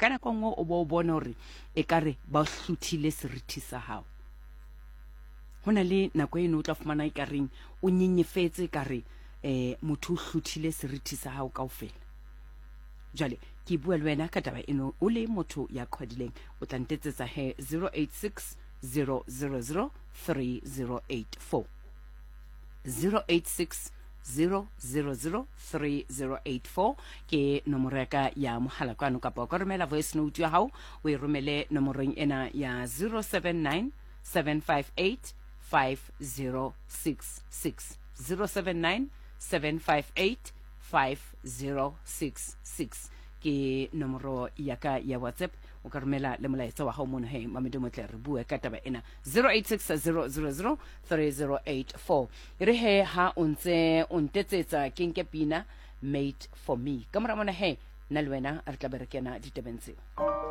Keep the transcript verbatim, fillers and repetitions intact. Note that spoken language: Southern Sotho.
Ka nako e nngwe o bo o bone hore ekare ba hluthile serithi sa hao. Ho na le nako eno o tla fumana ekareng o nyenyefetse, ekare um motho o hluthile serithi sa hao kaofela. Jwale ke bua le wena ka taba eno, o le motho ya qhwadileng, o tla ntetsetsa he zero eight six zero zero zero three zero eight four, zero eight six zero zero zero three zero eight four ke nomoro ya ka ya mohala kwano, kapa o ka romela voice note ya hao o e romele nomorong ena ya zero seven nine seven five eight five zero six six, zero seven nine seven five eight five zero six six ke nomoro ya ka ya WhatsApp. O ka romela le molaetsa wa hao mono he Mamedi Motle, re bue ka taba ena zero eight six zero zero zero three zero eight four. E re he ha o ntse o ntetsetsa ke nke pina Made for Me, ka mora mona he nna le wena re tla be re kena ditabeng tseo.